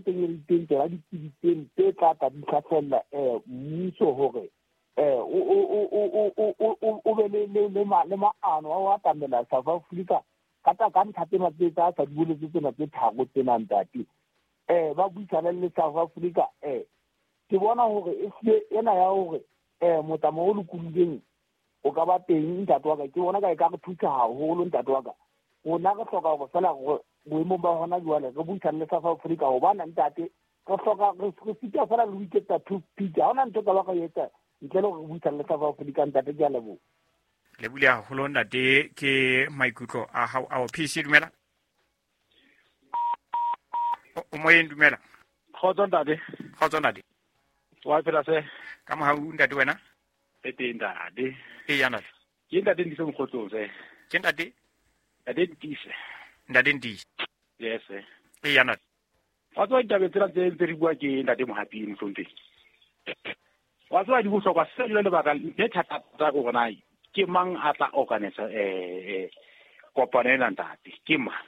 teng e teng tsona ditsebi tseno tse tla tla di hlahlella mmuso hore o be le maano a ho atamela South Africa ka ka ntlha tsena tse tsa sa di boletse tsena tse tharo tsena ntate. Ba buisane le South Africa. Ke bona hore e hlile ena ya hore motsamao o lokolohileng o ka ba teng ntate wa ka, ke bona ka e ka re thusa haholo ntate wa ka. Rona re hloka hore fela boemong ba hona jwale re buisane le South Africa, hobane ntate re hloka re sita fela le ho iketsa toothpick. Ha hona ntho ka ba ka etsa ntle le hore re buisane le South Africa ntate. Ke a leboha. Le bule haholo ntate, ke maikutlo a hao ao. PC dumela. O moyeng, dumela. Kgotso ntate. Kgotso ntate. Wa phela se? Ka mohau ntate, wena? E teng ntate. E ya ntate. Ke ntate Ntise Mokgotlong se. Ke ntate? Ntate Ntise. Ntate Ntise. Yes. E ya ntate. Wa tseba ditaba tsena tse ntse re bua ke ntate Mohapi mohlompheng. Wa tseba di bohlokwa se le lebaka le thata go bona ke mang a tla organisa kopano ena ntate, ke mang?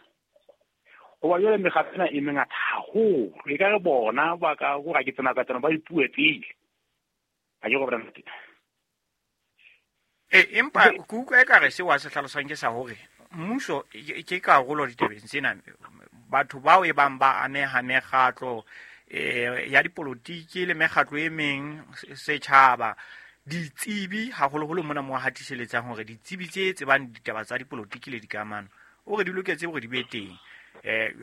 Hoba jwale mekgatlo ena e mengata haholo, e ka re bona ba ka go ga ke tsena ka tsena ba ipue pele. Ha ke go bona ntate. Empa ke utlwa ekare seo a se hlalosang ke sa hore mmuso ke karolo ditabeng tsena. Batho bao e bang ba ameha mekgatlo ya dipolotiki le mekgatlo e meng, setjhaba, ditsebi haholoholo mona mo hatiseletsang hore ditsebi tse tsebang ditaba tsa dipolotiki le dikamano o re di loketse hore di be teng.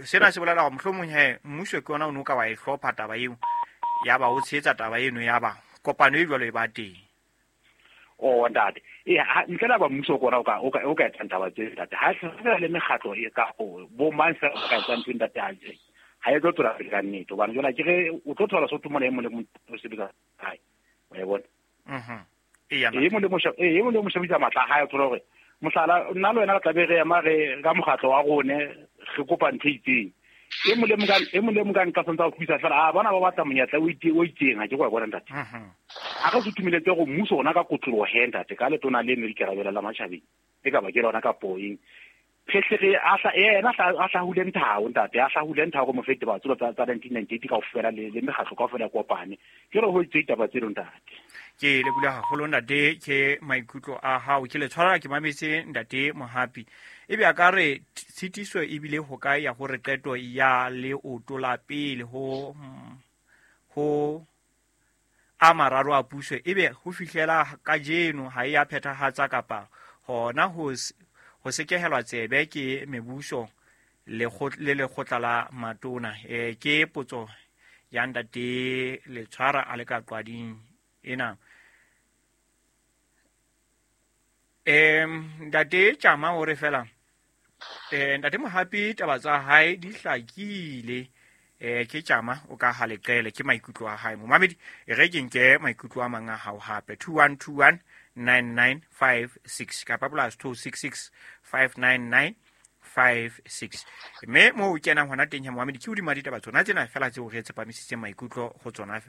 Sena se bolela hore mohlomong he mmuso ke ona o no ka wa e hlopha taba eo, ya ba o tshehetsa taba eno, ya ba kopano e jwalo e ba teng. O ntate, ntle le ba mmuso kona o ka etsang taba tse ntate. Ha se le mekgatlo e ka bo mang fela o ka etsang ntho ntate, ha e tlo tswela pele ka nnete. Hobane jwale ke re o tlo thola sotho mona e mong le mong o sebetsa hae. Wa e bona? E mong le mong shebisa matla a hae, o thola hore mohlala nna le wena re tla be re ema re ka mokgatlo wa rone re kopa ntho e itseng. E mong le mong ka nka santsa o thusa fela, a bona ba batla monyetla o itseng, ha ke go bona ntate. A re sutumeletse go mmuso ona ka kotloloho he ntate, ka letona le ne ikarabela la matjhabeng, e ka ba ke lona ka poeng. Phehlere a yena a hlahule nthao ntate, a hlahule nthao go mofete ba tsolo tsa 1998 kaofela le mekgatlo kaofela kopane. Ke re ho itse ditaba tseno ntate. Ke le bula haholo ntate, ke maikutlo a hao. Ke le tshwarela ke mametse ntate Mohapi. Ebe a ka re tshitiso ebile ho kae ya hore qeto ya leoto la pele ho a mararo a puso ebe ho fihlela kajeno ha e ya phethahatsa kapa hona ho sekehelwa tsebe ke mebuso le lekgotla la matona. Ke potso ya ntate Letshwara a le ka qwading ena. Ntate Tjama o re fela ntate Mohapi taba tsa hae di hlakile. Ke Tjama o ka ha leqele, ke maikutlo a hae. Momamedi e re ke nke maikutlo a mang a hao hape. 2121 9956 kapa plus 266 599 56. Mme mo o kenang hona teng ya momamedi ke hodima ditaba tsona tsena fela tseo re tsepamisitseng maikutlo ho tsona.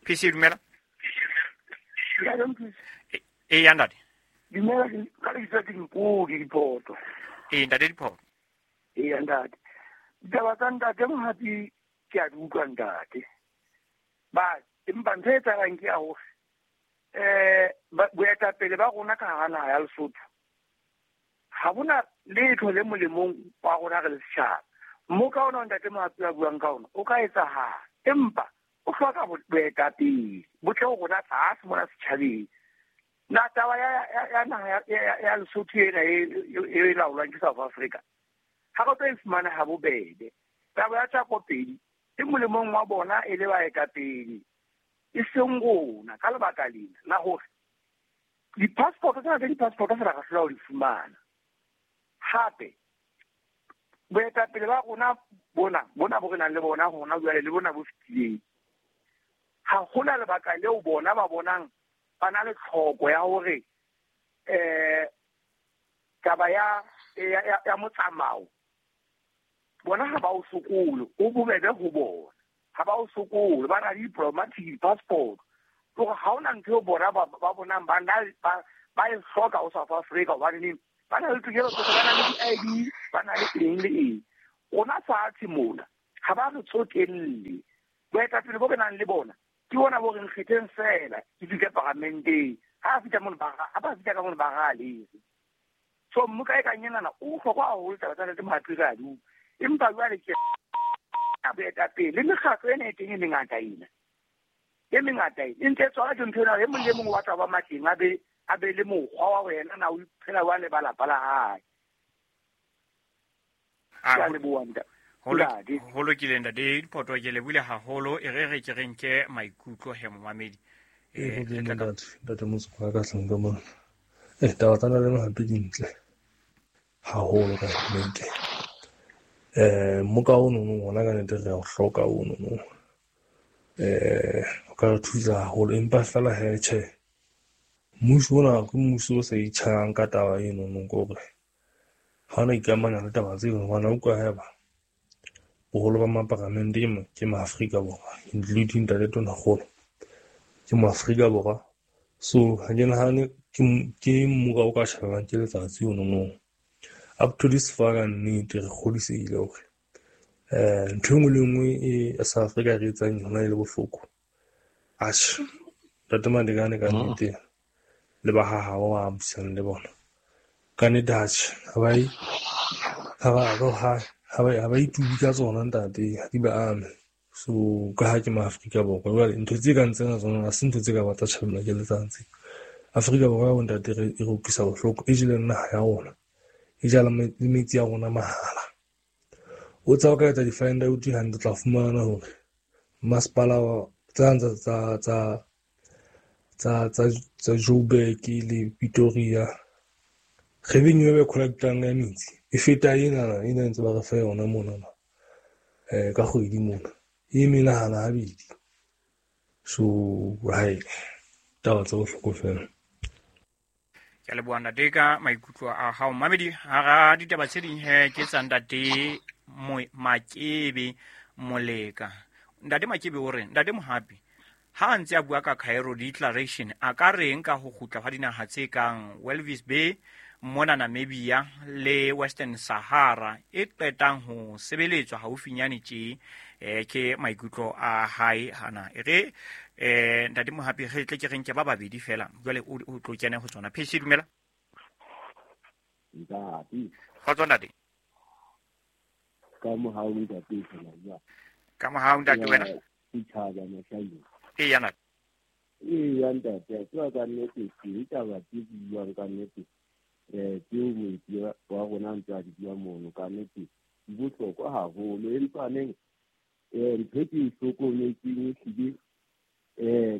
PC dumela. E ya ntate. Dumela, ka lebitso ke Mpodi Diphoto. E ntate Diphoto. E ya ntate. Ditaba tsa ntate Mohapi ke a di utlwa ntate. Ba empa ntho e etsahalang ke ya hore boetapele ba rona ka hara naha ya Lesotho ha bona letho le molemong wa rona re le setjhaba. Mo ka ona ntate Mohapi a buang ka ona o ka etsahala, empa o hloka boetapele bo tle ho rona tlase mona setjhabeng. Na taba ya naha ya Lesotho ena e laolwang ke South Africa ha re tlo e fumana ha bobebe. Taba ya Tjako-Pedi e molemong wa bona e le baetapele, e seng rona, ka lebaka lena la hore di-passport tsena tsa di-passport fela re hlola ho di fumana. Hape boetapele ba rona bona bo re nang le bona hona jwale le bona bo fetileng, ha hona lebaka leo bona ba bonang ba na le tlhoko ya hore taba ya motsamao bona ha ba o sokole, o bobebe ho bona. Ha ba o sokole, ba na le diplomatic passport. Hore ha hona ntho eo bona ba bonang ba e hloka ho South Africa, hobane neng ba na le tokelo tsohle, ba na le di-ID, ba na le eng le eng. Rona fatshe mona Ha ba re tsotelle. Boetapele bo re nang le bona ke bona bo re nkgetheng fela ke fihle paramenteng. Ha fihla mono ba ha ba fihla ka mono ba ra lere. So mmuka e kang enana o bohlokwa haholo taba tsa Ntate Mohapi re a di utlwa. Empa jwale ke boetapele le mekgatlo ena e teng e mengata ena. E mengata ena. E ntse e tswala ke ntho ena e mong le mong o batla ho ba matleng a be le mokgwa wa ho yena na o iphela jwang le ba lapa la hae. Ke a leboha ntate. Ho lokile ntate Diphoto, ke lebohile haholo. E re re ke re nke maikutlo he momamedi. Ntate Motsoka ka hlong ka mona. Taba tsa Ntate Mohapi di ntle haholo ka nnete. Mmoka ono no ona ka nnete re a o hloka ono no. O ka re thusa haholo, empa fela he tjhe. Mmuso ona ke mmuso o sa itjhayang ka taba eno no, ke hore ha ona ikamanya le taba tseo, hobane o utlwa haeba boholo ba maparamente ke maAfrika Borwa, including Ntate Tonakgolo ke moAfrika Borwa. So ha ke nahane ke mmuka o ka tjhabelwang ke letsatsi ono no. Up to this far ka nnete re kgodisehile hore ntho e nngwe le nngwe e South Africa re etsang yona e le bohloko. Atjhe, Ntate Madekane ka nnete le ba ha hao ba buisang le bona. Ka nnete atjhe, ha ba itubi ka tsona ntate, ha di ba ame. So ka ha ke maAfrika Borwa, jwale ntho tse kang tsena tsona ha se ntho tse ka ba tsa tjhabelwa ke letsatsi. Afrika Borwa bo ntate e re utlwisa bohloko, e jele naha ya rona, e jala le metsi ya rona mahala. O tsa o ka etsa di-find out hantle, o tla fumana hore masepala tsa Joburg le Pretoria revenue e ba collectang ya metsi e feta ena ena ntse ba re fa yona mona ka kgwedi mona e menahana habedi. So hai taba tsa bohloko fela. Ke leboha ntate ka maikutlo a hao mamedi. Hara ditaba tse ding he ke tsa ntate Makebe Moleka. Ntate Makebe o re Ntate Mohapi ha ntse a bua ka Cairo Declaration a ka reng ka ho kgutla ha dinaha tse kang Walvis Bay mona Namibia le Western Sahara e qetang ho sebeletswa haufinyane tje. Ke maikutlo a hae hana. E re Ntate Mohapi re tle ke re nke ba babedi fela jwale o tlo kena ho tsona. Phesi dumela. Ntate. Kgotso ntate. Ka mohau ntate fela ya. Ka mohau ntate wena. Itjhaba mahlale. Eya ntate. Eya ntate, tswa ka nnete ke taba tse buang ka nnete. Tseo moeti wa rona ntse a di bua mono ka nnete di bohlokwa haholo, empa neng ntho ke e hlokometseng ehlile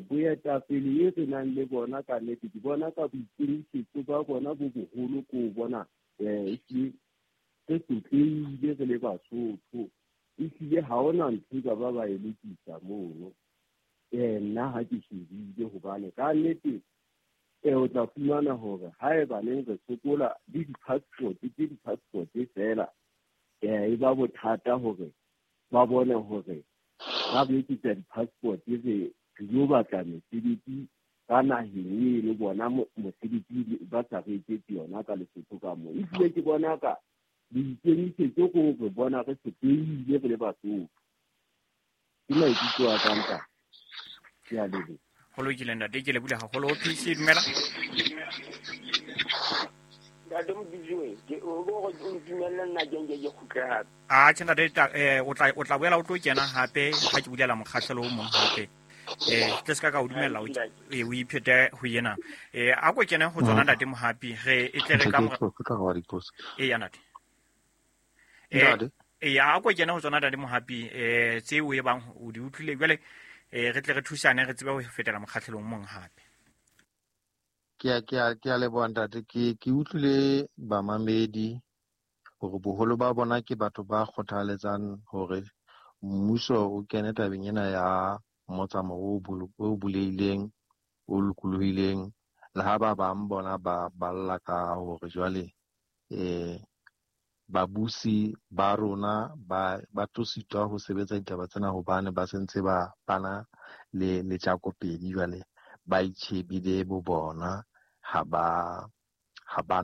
boetapele e re nang le bona ka nnete ke bona ka boikemisetso ba bona bo boholo ko bona ehlile re sotlehile re le Basotho, ehlile ha hona ntho e ka ba ba e lokisa mono. Nna ha ke shebile hobane ka nnete o tla fumana hore haeba neng re sokola le di-passport ke di-passport fela e ba bothata hore ba bone hore ba bekisa di-passport re yo batla mesebetsi ka naheng eno bona mosebetsi ba sa re etsetse yona ka Lesotho ka moo. Ebile ke bona ka boikemisetso ko re bona re sotlehile re le Basotho. Ke maikutlo a ka ntate. Ke a leboha. Ho lokile ntate, ke lebohile haholo. PC dumela. Ntate Modijoe, ke o go o ntumelle nna ke nke ke kgutle hape. A tjhe ntate, o tla boela o tlo kena hape ha ke bulela mokgahlelo o mong hape. Tle se ka o dumella o iphete ho yena. A ko kene ho tsona ntate Mohapi, re e tle re ka ya ntate. A ko kene ho tsona ntate Mohapi, tseo e bang o di utlwile jwale re tle re thusane re tsebe ho fetela mokgahlelong mong hape. Ke a leboha ntate. Ke utlwile bamamedi hore boholo ba bona ke batho ba kgothaletsang hore mmuso o kene tabeng ena ya motsamao o bulehileng, o lokolohileng, le ha ba bang bona ba balla ka hore jwale babusi ba rona ba tlo sitwa ho sebetsa ditaba tsena hobane ba sentse ba bana le letjakopedi, jwale ba itjhebile bo bona, ha ba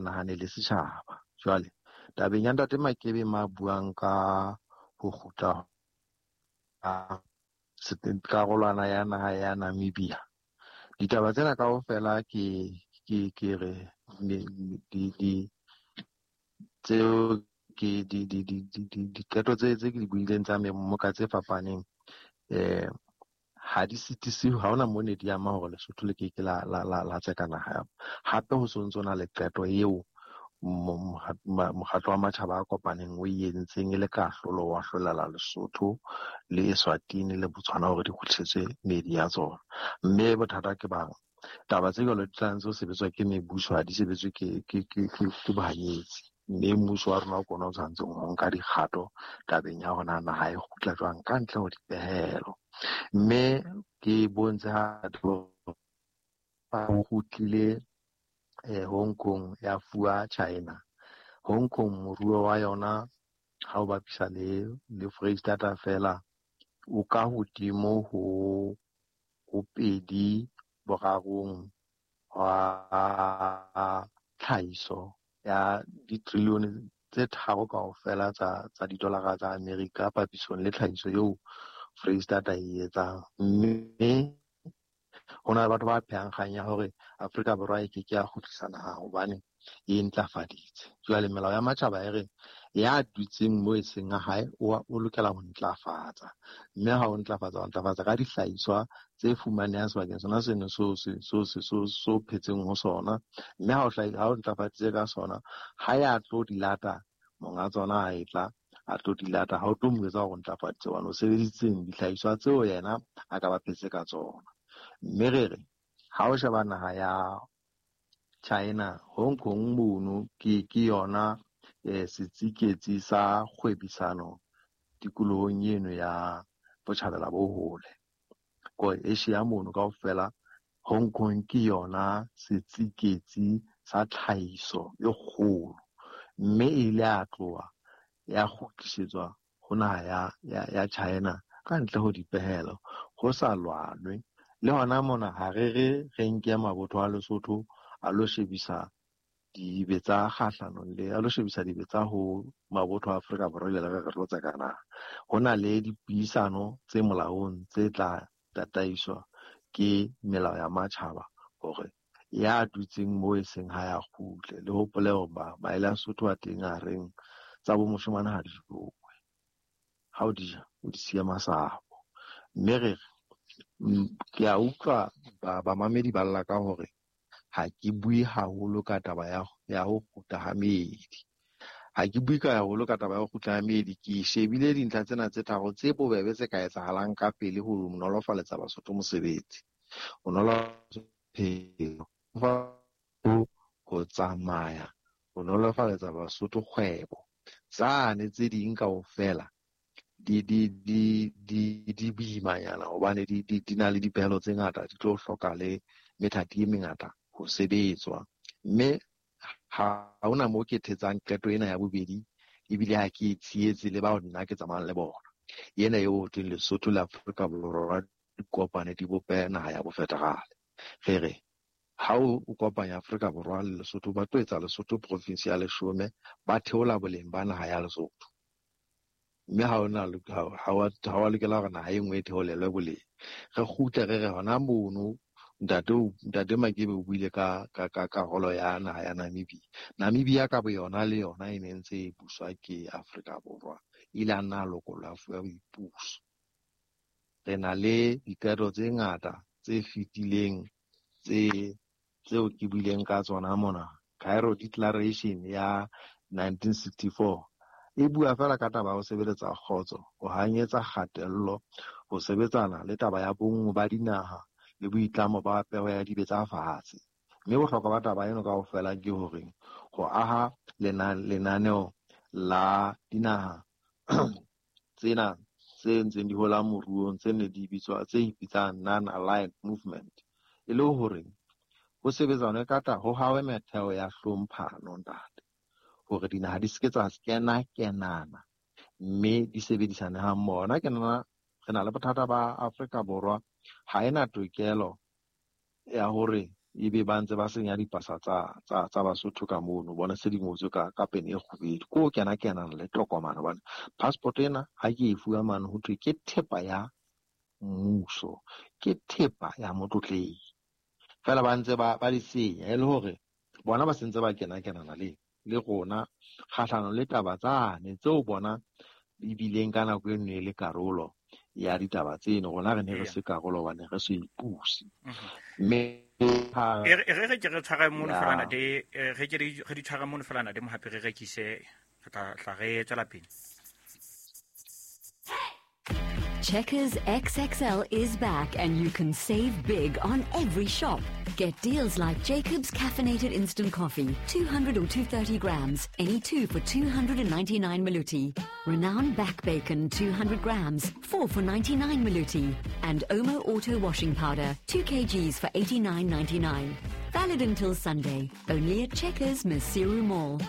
nahane le setjhaba. Jwale tabeng ya ntate Makebe ma buang ka ho kgutla karolwana ya naha ya Namibia. Ditaba tsena kaofela ke ke ke re di tseo ke di di di di diqeto tse tse ke di buileng tsa memoka tse fapaneng ha di sitise, ha hona mo ne di ama hore Lesotho le ke ke la la la la tseka naha ya. Hape ho sontso na le qeto eo mokgatlo wa matjhaba a kopaneng o e entseng e le kahlolo wa hlolela Lesotho le Eswatini le Botswana hore di kgutlisetswe meedi ya tsona. Mme bothata ke bang taba tse jwalo di tla ntse ho sebetswa ke mebuso, ha di sebetswe ke bohanyetsi. Mme mmuso wa rona o kona o tshwanetseng ho nka dikgato tabeng ya hore naha e kgutla jwang ka ntle ho dipehelo. Mme ke bontshe ha kgutlile Hong Kong ya fuwa China. Hong Kong moruo wa yona ha o bapisa le Foreisetata fela o ka hodimo ho 2/3 wa tlhahiso ya ditrilione tse 3 kaofela tsa didolara tsa Amerika papisong le tlhahiso eo Foreisetata e etsang. Mme ho na le batho ba phehang kgang ya hore Afrika Borwa e ke ke ya kgutlisa naha hobane e ntlafaditse. Jwale melao ya matjhaba e re ya dutseng moo e seng a hae o lokela ho ntlafatsa. Mme ha o ntlafatsa, o ntlafatsa ka dihlahiswa tse fumanehang sebakeng sona seno so phetseng ho sona. Mme ha o ntlafaditse ka sona, ha ya tlo di lata monga tsona ha e tla a tlo di lata, ha o tlo mo etsa hore o ntlafaditse hobane o sebedisitseng dihlahiswa tseo yena a ka ba phetse ka tsona. Mme re re ha o sheba naha ya China, Hong Kong mono ke yona setsiketsi sa kgwebisano tikolohong eno ya botjhabela bo hole. Ko Asia mono kaofela, Hong Kong ke yona setsiketsi sa tlhahiso e kgolo. Mme e ile ya tloha ya kgutlisetswa ho naha ya China ka ntle ho dipehelo, ho sa lwanwe. Le hona mona ha re re nke mabotho a Lesotho a lo shebisa dibetsa kgahlanong le a lo shebisa dibetsa ho mabotho a Afrika Borwa le re tlo tseka naha. Ho na le dipuisano tse molaong tse tla tataiswa ke melao ya matjhaba hore ya dutseng moo e seng ha ya kgutle. Le hopole hore maele a Sotho a teng a reng tsa bo moshemane ha di jowe, ha o di ja o di siya masapo. Mme re ke a utlwa bamamedi ba lla ka hore ha ke bue haholo ka taba ya ho kgutla ha meedi. Ha ke bue ka haholo ka taba ya ho kgutla ha meedi, ke shebile dintlha tsena tse tharo tse bobebe tse ka etsahalang ka pele ho nolofaletsa Basotho mosebetsi. Ho nolofaletsa ho tsamaya, ho nolofaletsa Basotho kgwebo. Tsane tse ding kaofela di boimanyana hobane di na le dipehelo tse ngata, di tlo hloka le methati e mengata ho sebetswa. Mme ha hona moo ke thetsang qeto ena ya bobedi, ebile ha ke e tshehetse le bao nna ke tsamayang le bona. Ena eo ho thweng Lesotho le Afrika Borwa di kopane di bope naha ya bofederale. Re re ha o kopanya Afrika Borwa le Lesotho, ba tlo etsa Lesotho province ya leshome, ba theola boleng ba naha ya Lesotho. Mme ha wa lokela hore naha e nngwe e theolelwe boleng. Re kgutle re re hona mono Ntate Makebe o buile ka karolo ya naha ya Namibia. Namibia ka boyona le yona e ne ntse e buswa ke Afrika Borwa. E ile a nna a lokollwa a fuwa boipuso. Re na le diqeto tse ngata tse fetileng tseo ke buileng ka tsona mona. Cairo Declaration ya 1964 e bua fela ka taba ya ho sebeletsa kgotso, ho hanyetsa kgatello, ho sebetsana le taba ya bonngwe ba dinaha le boitlamo ba peho ya dibetsa fatshe. Mme bohlokwa ba taba eno kaofela ke hore ho aha lenaneo la dinaha tsena tse ntseng di hola moruong tse ne di bitswa tse ipitsang Non-Aligned Movement, e le hore ho sebetsanwe ka ho hawe metheo ya hlomphano ntate, hore dinaha di se ke tsa kena-kenana mme di sebedisane ha mmoho. Nna ke nna re na le bothata ba Afrika Borwa ha ena tokelo ya hore ebe ba ntse ba senya dipasa tsa Basotho ka mono, bona se di ngotswe ka pene e kgubedu. Ko o kena-kenana le tokomane hobane passport ena ha ke e fuwa mane ho thwe ke thepa ya mmuso, ke thepa ya motlotlehi. Fela ba ntse ba di senya e le hore bona ba sentse ba kena-kenana le rona kgahlano le taba tsane tseo bona ebileng ka nako e nngwe e le karolo ya ditaba tseno. Rona re ne re se karolo hobane re se ipuse. Mme re re ke re tshware mono fela ntate, re ke re di tshware mono fela ntate Mohapi, re rekise, re tla re tswela pele. Checkers XXL is back and you can save big on every shop. Get deals like Jacob's Caffeinated Instant Coffee, 200 or 230 grams, any two for 299 Maluti. Renowned Back Bacon, 200 grams, 4 for 99 Maluti. And Omo Auto Washing Powder, 2 kgs for 89.99. Valid until Sunday, only at Checkers Maseru Mall.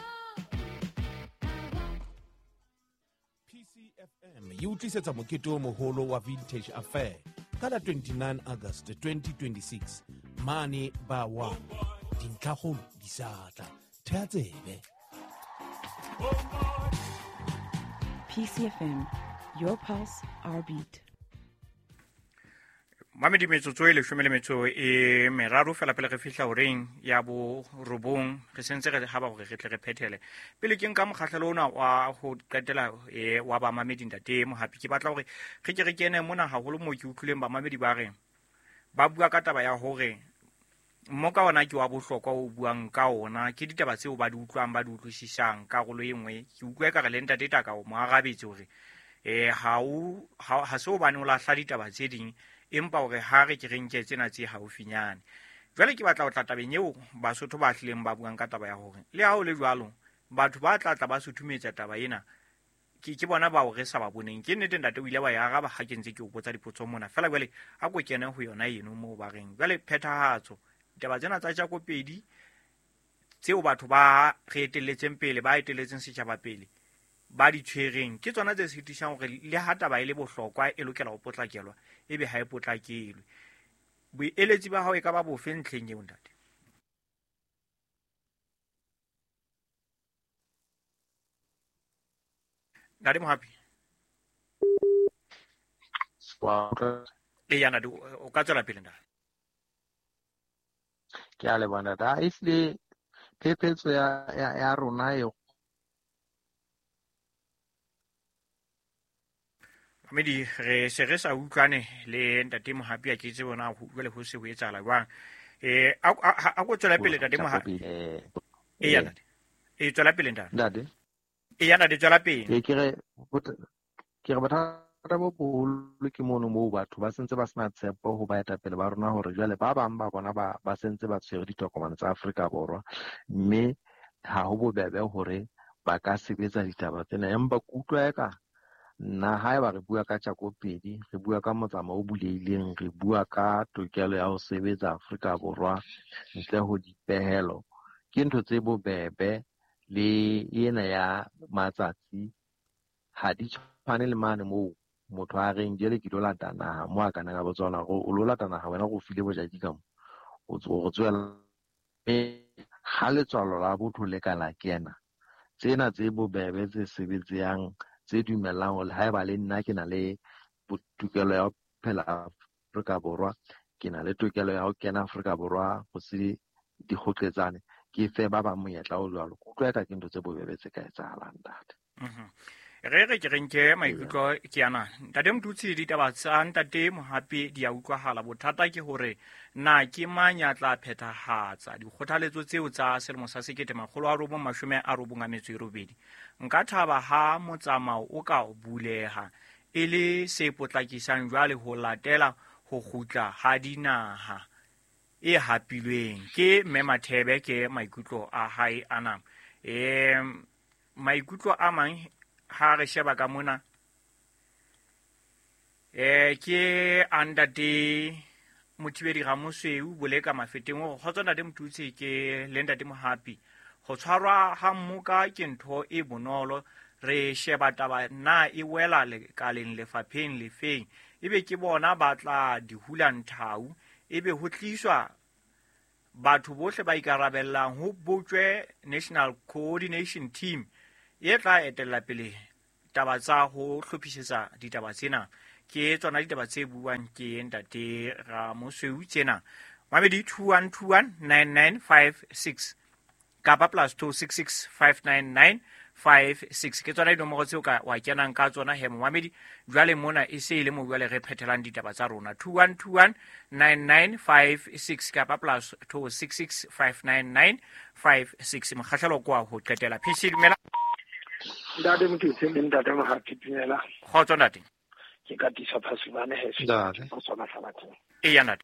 E utlwisetsa mokete o moholo wa Vintage Affair ka la 29 August 2026 mane ba wa dintlhakgolo di sa tla. Thea tsebe. PCFM, your pulse, our beat. Mamedi metsotso e 13 fela pele re fihla horeng ya bo 9, re sentse re haba hore re tle re phethele. Pele ke nka mokgahlelo ona wa ho qetela wa ba mamedi ntate Mohapi, ke batla hore re ke re kene mona haholo mo ke utlwileng ba mamedi ba reng ba bua ka taba ya hore mmoka ona ke wa bohlokwa o buang ka ona, ke ditaba tseo ba di utlwang ba di utlwisisang. Karolo e nngwe ke utlwa ekare le ntate Taka o mo arabetse hore ha se hobane o lahla ditaba tse ding, empa hore ha re ke re nke tsena tse haufinyane. Jwale ke batla ho tla tabeng eo Basotho ba hlileng ba buang ka taba ya hore le ha ho le jwalo batho ba tla tla ba suthumetsa taba ena, ke bona bao re sa ba boneng. Ke nnete ntate o ile wa e araba ha ke ntse ke o botsa dipotso mona fela. Jwale a ko kene ho yona eno moo ba reng jwale phethahatso ditaba tsena tsa Jakopedi tseo batho ba re etelletseng pele, ba etelletseng setjhaba pele, ba di tshwereng, ke tsona tse sitisang hore le ha taba e le bohlokwa e lokela ho potlakelwa, ebe ha e potlakelwe. Boeletsi ba hao e ka ba bofe ntlheng eo ntate? Ntate Mohapi. Eya ntate, o ka tswela pele ntate. Ke a leboha ntate. Ehlile phephetso ya rona e Mamedi, re se re sa utlwane le ntate Mohapi, a ke tsebe bona jwale ho se ho etsahala jwang. A ko tswela pele ntate Mohapi. Eya ntate. E tswela pele ntate. Ntate. Eya ntate, tswela pele. Ke re bothata bo boholo ke mono moo batho ba sentse ba sena tshepo ho baetapele ba rona, hore jwale ba bang ba bona ba sentse ba tshwere ditokomane tsa Afrika Borwa, mme ha ho bobebe hore ba ka sebetsa ditaba tsena. Empa ke utlwa eka nna haeba re bua ka Jakopedi, re bua ka motsamao o bulehileng, re bua ka tokelo ya ho sebetsa Afrika Borwa ntle ho dipehelo, ke ntho tse bobebe. Le ena ya matsatsi ha di tshwane le mane moo motho a reng jele ke lo lata naha, mo a kanang a botsa hore o lo lata naha wena go file bojaki ka mo, o tswela. Ha letswalo la botho le ka la kena, tsena tse bobebe tse sebetsang tse dumellang hore haeba le nna ke na le tokelo ya ho phela Afrika Borwa, ke na le tokelo ya ho kena Afrika Borwa ho se dikgoqetsane, ke fe ba bang monyetla o jwalo. Ke utlwa eka ke ntho tse bobebe tse ka etsahalang ntate. Re re ke re nke maikutlo ke ana. Ntate Motutsi, ditaba tsa ntate Mohapi di a utlwahala. Bothata ke hore na ke mang ya tla phethahatsa dikgothaletso tseo tsa selemo sa 1998. Nka thaba ha motsamao o ka buleha e le se potlakisang jwale ho latela ho kgutla ha dinaha e hapilweng. Ke Mme Mathebe, ke maikutlo a hae ana. Maikutlo a mang ha re sheba ka mona, ke andate Mothibedi Ramosweu Boleka Mafeteng o kgotsa ntate Motutsi ke le ntate Mohapi. Ho tshwarwa ha mmoka ke ntho e bonolo, re sheba taba na e wela lekaleng lefapheng lefeng, ebe ke bona ba tla di hula nthau, ebe ho tliswa Batho bohle ba ikarabellang ho botjwe National Coordination Team e tla etella pele taba tsa ho hlophisetsa ditaba tsena. Ke tsona ditaba tse buang ke ntate Ramosweu tsena. Mamedi 21219956 kapa +266 59956 ke tsona dinomoro tseo ka wa kenang ka tsona he momamedi. Jwale mona e se e le mo jwale re phethelang ditaba tsa rona 21219956 kapa +266 59956. Mokgahlelo kwa ho qetela. PC dumela. Ntate Motho le ntate Mohapi dumela. Kgotso ntate. Ke ka tisa phasumane he se Ntate. go tswa Mahlabatheng. Eya ntate.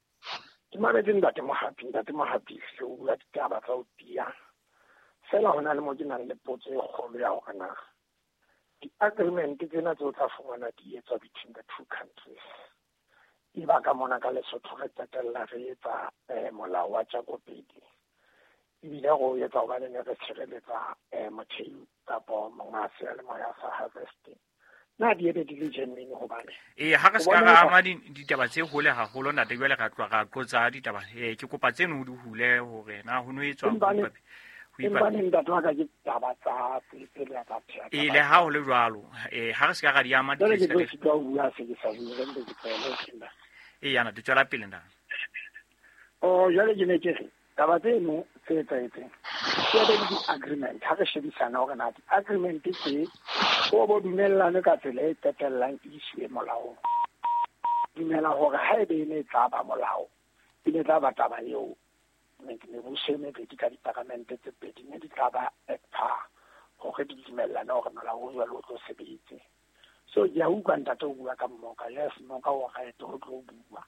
Ke mametse ntate Mohapi, ntate Mohapi se o bua ditaba tsa ho tiya. Fela ho na le mo ke nang le potso e kgolo ya hore na di-agreement tsena tseo tla fumana di etswa between the two countries. E ba ka mona ka Lesotho re qetella re etsa molao wa tjakopedi. Ebile re o etsa hobane ne re tshireletsa mothei kapo monga seyalemoya sa harvesting. Na di ebe di le genuine hobane? Ee, ha re O se ka bona ra eka ama ditaba tse hole haholo ntate, jwale ra tloha ra qotsa ditaba. Ke kopa tseno o di hule hore na ho no etswa ho Empane ho ipapi. empane ntate wa ka ke taba tsa tse le tsa phea Ee, taba le ha tsa. ho le jwalo, ha re se ka ra di ama Jwale ke tlo ditlhahiso. sitwa ho bua se ke sa bue, re mpe ke tlohele ho Ee, yana di tswela pele ntate. Oh, jwale ke ne ke re taba tseno tse etsahetseng ke ebe le di-agreement. Ha re shebisana hore na di-agreement tse o bo dumellane ka tsela e qetellang e isiwe molaong. Dumela hore ha ebe e ne e tla ba molao, e ne tla ba taba eo mebuso e mebedi ka diparamente tse pedi ne di tla ba at par hore di dumellane hore molao o jwalo o tlo sebetse. So ke a utlwa ntate o bua ka mmoka. Yes, mmoka o right ho tlo bua.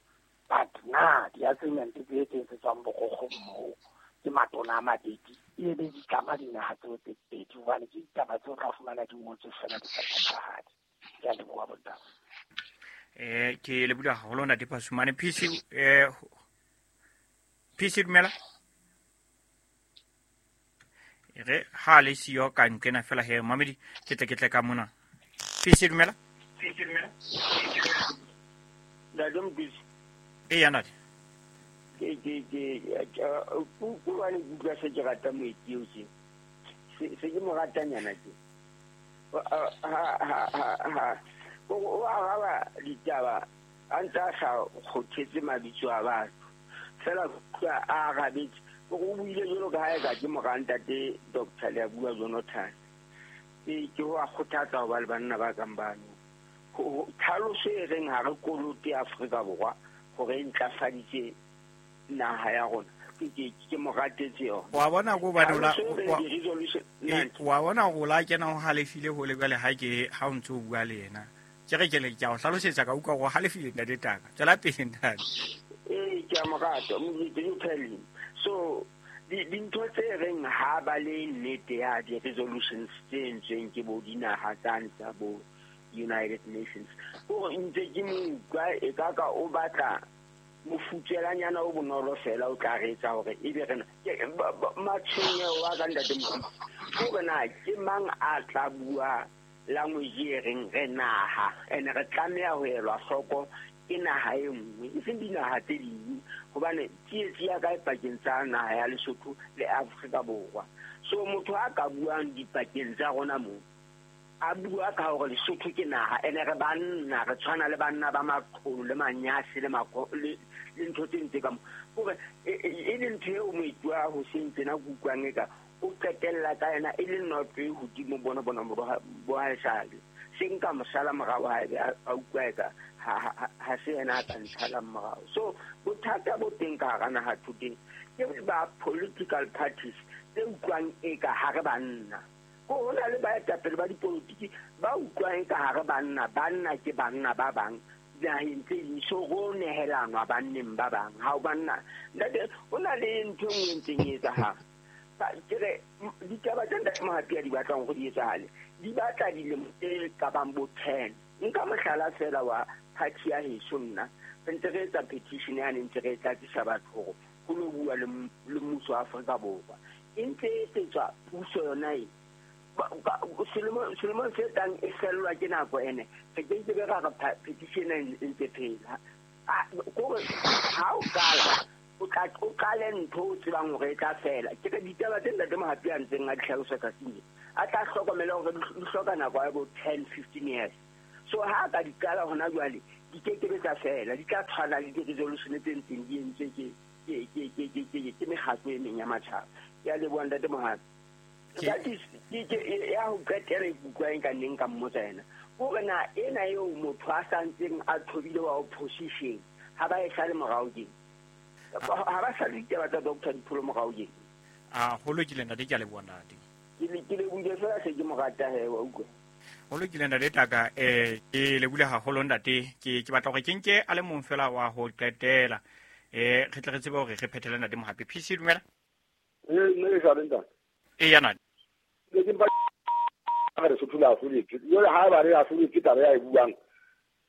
But na di-agreement tse tse etsetswang borokgo moo ke matona a mabedi e be di tlama dinaha tseo tse pedi hobane ke ditaba tseo tla fumana di ngotswe fela di sa phethahale. Ke a leboha bontate. Ke lebohile haholo ntate Phasumane. PC PC dumela. Re ha le siyo ka nqena fela he mamedi ke tle ka mona. PC dumela. Ntate Mokisi. Eya ntate. Ke hobane ke utlwa se ke rata moeti eo tje. Se ke mo ratanyana tje. O araba ditaba a ntse a sa kgothetse mabitso a batho. Fela utlwa a arabetse. O buile jwalo ka ha eka ke mora ntate Dr. Leabua Jonathan. Ke ho a kgothatsa ho ba le banna ba kang bano. Tlhaloso e reng ha re kolote Afrika Borwa hore e ntlafaditse naha ya rona. Ke mo ratetse yona. Wa bona ko hobane o la Tlhaloso e reng di-resolution wa bona hore o la kena o halefile hole jwale ha ke ha o ntso o bua le yena. Ke re ke le ke a o hlalosetsa ka utlwa hore o halefile ntate Taka. Tswela pele ntate. Ee, ke a mo rata, you tell him. So dintho tse reng ha ba le nnete ya di-resolutions tse entsweng ke bo dinaha tsane tsa bo United Nations. Hore ntse ke mo utlwa e ka ka o batla mofutswelanyana o bonolo fela o tla re etsa hore ebe rena matshwenyeho a ka ntate Mokisi hore na ke mang a tla bua language e reng re naha ene re tlameha ho elwa hloko ke naha e nngwe e seng dinaha tse ding hobane tsietsi ya ka e pakeng tsa naha ya Lesotho le Afrika Borwa. So motho a ka buang dipakeng tsa rona moo a bua ka hore Lesotho ke naha ene re banna re tshwana le banna ba maqholo le manyasi le le ntho tse ntse ka mo hore e le ntho eo moeti wa hoseng tjena ke utlwang eka o qetella ka yena e le noto e hodimo bona bo haesale se nka mosala morao ha ebe a utlwa eka ha se yena a ka ntshalang morao. So bothata bo teng ka hara naha thoteng ke ba political parties tse utlwang eka ha re banna. Ho na le baetapele ba dipolotiki ba utlwang eka ha re banna, banna ke banna ba bang dinaheng tse ding, so ho nehelanwa banneng ba bang. Ha o banna ntate, ho na le ntho e nngwe e ntseng e etsahala. Ke re ditaba tse ntate Mohapi a di batlang hore di etsahale di batla dilemo tse ka bang bo 10. Nka mohlala fela wa party ya heso nna re ntse re etsa petition yane ntse re tlatsisa batho hore ho lo bua le mmuso wa Afrika Borwa. E ntse e etsetswa puso yona e selemong se tlang e fellwa ke nako ene re ke ke be ra re petition e ntse phela. Kore ha o qala o o qale ntho o tsebang hore e tla fela. Ke re ditaba tse Ntate Mohapi a ntseng a di hlalosa tsatsing, a tla hlokomela hore di hloka nako ya bo 10 15 years. So ha ka di qala hona jwale, di ke ke tsa fela, di tla tshwana le di-resolution tse ntseng di entswe ke mekgatlo e meng ya matjhaba. Ke a leboha Ntate Mohapi. That is ya ho qetela e kutlwang ka neng ka mmotsa yena. Hore na ena eo motho a santseng a thobile wa opposition ha ba e sale morao keng? Ha ba sale ditaba tsa Dr. Dipholo morao keng? A ho lokile ntate, ke a leboha ntate. Ke lebohile fela se ke mo rata he, wa utlwa. Ho lokile ntate Taka, ke lebohile haholo ntate. Ke batla hore ke nke a le mong fela wa ho qetela. Re tle re tsebe hore re phethele ntate Mohapi. PC dumela. Nne ke sa ntate. E ya ntate. Ke mpa re Lesotho le ahloletswe. Jwale ha ba re ahloletswe taba ya e buang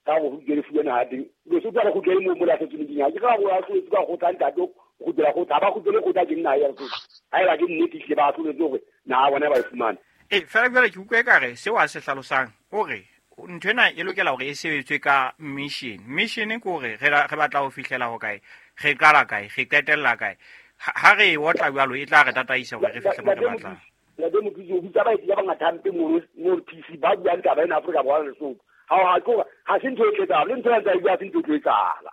ka go kgutlele fuwe naha teng. Lesotho ha le kgutlele moo mo le ahlotse meding. Ha ke ka go ahloletswe ka kgotla ntate, o kgutlela kgotla. Ha ba kgutlele kgotla ke nna ya Lesotho. Ha eba ke nnete ehlile ba ahloletswe hore naha bona ba e fumane. Fela jwale ke utlwa ekare seo a se hlalosang hore ntho ena e lokela hore e sebetswe ka mission. Mission ke hore re batla ho fihlela ho kae, re qala kae, re qetella kae. Ha re e otla jwalo e tla re tataisa hore re fihle mo re batlang. Ntate Mothusi, o bitsa baeti ba bangata hampe mono PC ba buang taba ena Afrika Borwa le Lesotho. Ha se ntho e tlo etsahala, le ntho ya ntse e bua ha se ntho e tlo etsahala.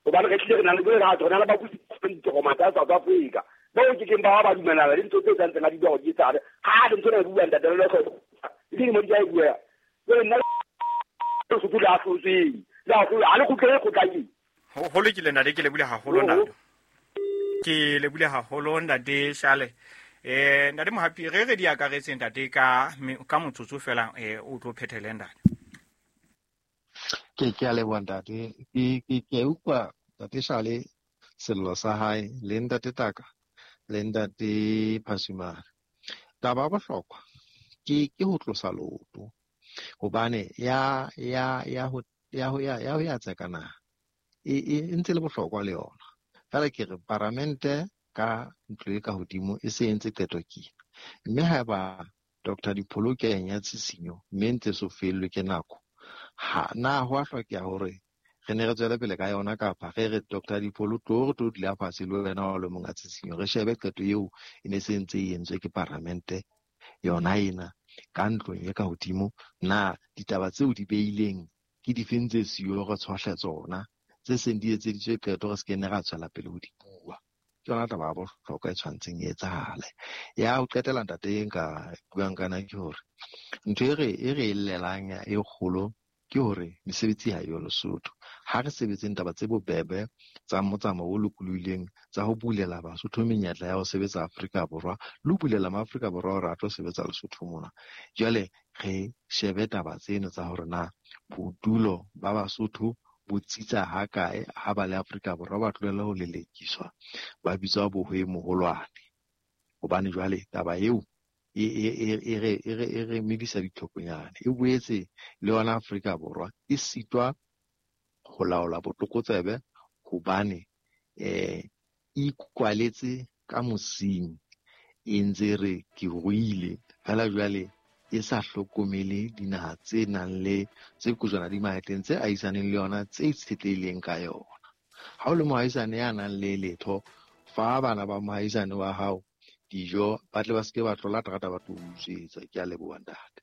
Hobane re tlile re na le re na le babusi ba ditokomane tsa South Africa. Bao ke keng ba dumellana le ntho tse tsantseng a di bua hore di etsahale. Ha le ntho ena e buang ntate le hloko. E dilemo di tla e bua. Jwale nna Lesotho le ahlotsweng. Le ahlolwe, ha le kgutlele kgotla keng? Ho lokile ntate, ke lebohile haholo ntate. Ke lebohile haholo ntate Shale. Ntate Mohapi, re di akaretseng ntate ka motsotso fela, o tlo phethele ntate. Ke a leboha ntate. Ke utlwa ntate Shale sello sa hae le ntate Taka le ntate Phasumare. Taba ya bohlokwa ke ho tlosa leoto, hobane ya ho ya tseka naha e ntse le bohlokwa le yona. Fela ke re paramente ka ntlo e ka hodimo e se entse qeto ke. Mme haeba Dr. Dipholo ke ya tshisinyo mme ntse so fellwe ke nako, ha na ho a hlokeha hore re ne re tswele pele ka yona, kapa re re Dr. Dipholo tlo re tlo dula fatshe le wena wa le monga tshisinyo, re shebe qeto eo e ne se ntse e entswe ke paramente yona ena ka ntlong e ka hodimo. Na ditaba tseo di beileng ke difeng tse siyo re tshohle tsona, tse seng di etseditswe qeto re se ke ne ra tswela pele ho di bua. Ke yona taba ya bohlokwa e tshwantseng e etsahale. Ya ho qetela ntate e nka buang ka yona ke hore ntho e re e llelang e kgolo ke hore mesebetsi ha eyo Lesotho. Ha re sebetseng taba tse bobebe tsa motsamao o lokolohileng, tsa ho bulela Basotho menyetla ya ho sebetsa Afrika Borwa, le ho bulela maAfrika Borwa hore a tlo sebetsa Lesotho mona. Jwale re shebe taba tseno tsa hore na bodulo ba Basotho bo tsitsa ha kae ha ba le Afrika Borwa, ba tlohele ho lelekiswa, ba bitswa bohwe moholwane. Hobane jwale taba eo e re medisa ditlhokonyane. E boetse le yona Afrika Borwa e sitwa ho laola botlokotsebe hobane e ikwaletse ka mosing, e ntse re ke ruile fela jwale e sa hlokomele dinaha tse nang le tse kojwana di mahetleng tse ahisaneng le yona, tse itshetlehileng ka yona. Ha o le moahisane ya nang le letho, fa bana ba moahisane wa hao dijo, ba tle ba seke ba tlola terata ba tlo utswetsa. Ke a leboha ntate.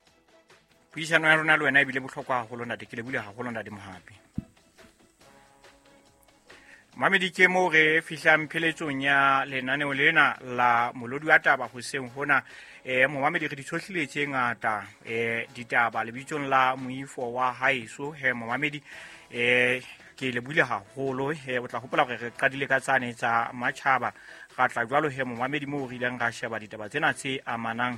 Puisano ya rona le wena ebile bohlokwa haholo ntate, ke lebohile haholo ntate Mohapi. Mamedi, ke moo re fihlang pheletsong ya lenaneo lena la Molodi wa Taba hoseng hona. Momamedi, re di tshohlile tse ngata ditaba lebitsong la moifo wa haeso. Momamedi, ke lebohile haholo. O tla hopola hore re qadile ka tsane tsa matjhaba, ra tla jwalo momamedi moo re ileng ra sheba ditaba tsena tse amanang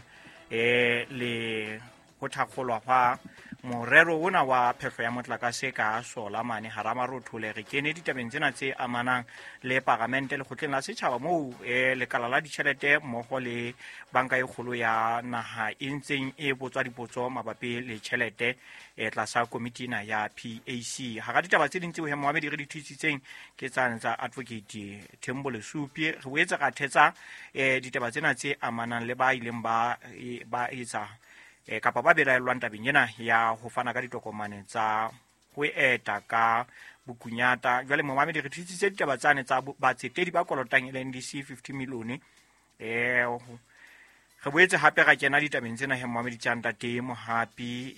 le ho thakgolwa hwa morero ona wa phehlo ya motlakase ka sola mane hara marothole. Re kene ditabeng tsena tse amanang le paramente lekgotleng la setjhaba moo lekala la ditjhelete mmoho le banka e kgolo ya naha e ntseng e botswa dipotso mabapi le tjhelete tlasa komiti ena ya PAC. Hara ditaba tse ding tseo momamedi re di thusitseng ke tsane tsa Advocate Thembo Lesupi. Re boetse ra thetsa ditaba tsena tse amanang le ba ileng ba etsa kapa ba belaellwang tabeng ena ya ho fana ka ditokomane tsa ho eta ka Bokunyata. Jwale momamedi, re thusitse ditaba tsane tsa batsetedi ba kolotang LNDC 50 milione. Re boetse hape ra kena ditabeng tsena he momamedi tsa ntate Mohapi,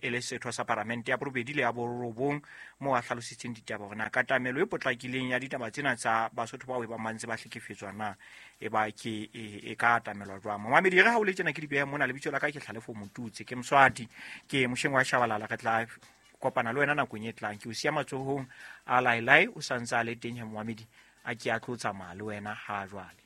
e le setho sa paramente ya borobedi le ya borobong, moo a hlalositseng ditaba hore na katamelo e potlakileng ya ditaba tsena tsa Basotho bao e bang ba ntse ba hlekefetswa na e ba ke e ka atamelwa jwang. Momamedi, re ha o le tjena ke di behe mona, lebitso la ka ke Tlhalefo Motutse, ke Moswati, ke mosheng wa Shabalala. Re tla kopana le wena nakong e tlang. Ke o siya matsohong a Lailai, o sa ntse a le teng he momamedi, a ke a tlo tsamaya le wena ha jwale.